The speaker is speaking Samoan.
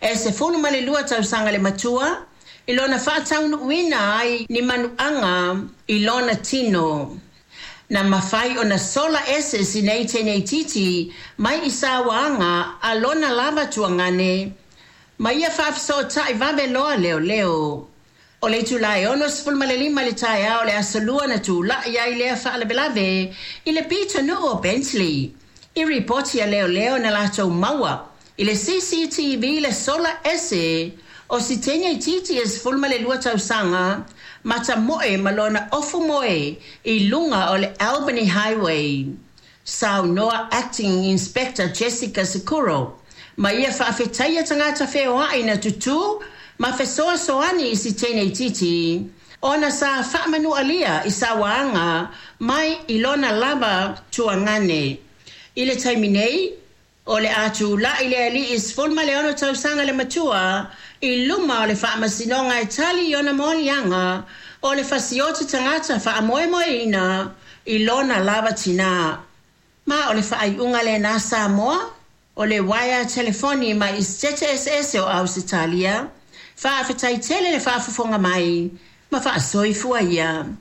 E 12 tausaga le matua i lona faataunuuina ai ni manuaga i lona tino. Na mafai ona sola ese si nei teine itiiti mai i sauaga a lona lava tuagane ma ia faafesootai vave loa leoleo. O le itula e 65 i le taeao o le Aso Lua na tulai ai lea faalavelave i le pitonuu o Bentley. I ripoti a leoleo na latou maua i le CCTV le sola ese o si teine itiiti e 12 tausaga ma tamoe ma lona ofu moe i luga o le Albany Highway. Saunoa Acting Inspector Jessica Securo ma ia faafetaia tagata feoai na tutū ma fesoasoani i si teine itiiti ona sa faamanualia i sauaga mai i lona lava tuagane. I le taimi nei, o le a tula'i le alii 16 tausaga le matua i luma o le faamasinoga e tali i ona moliaga o le fasioti tagata faamoemoeina i lona lava tinā. Ma o le faaiuga lena Samoa, o le uaea telefoni mai i Setete Eseese o Ausetalia, faafetai tele le faafofoga mai ma faasoifua ia.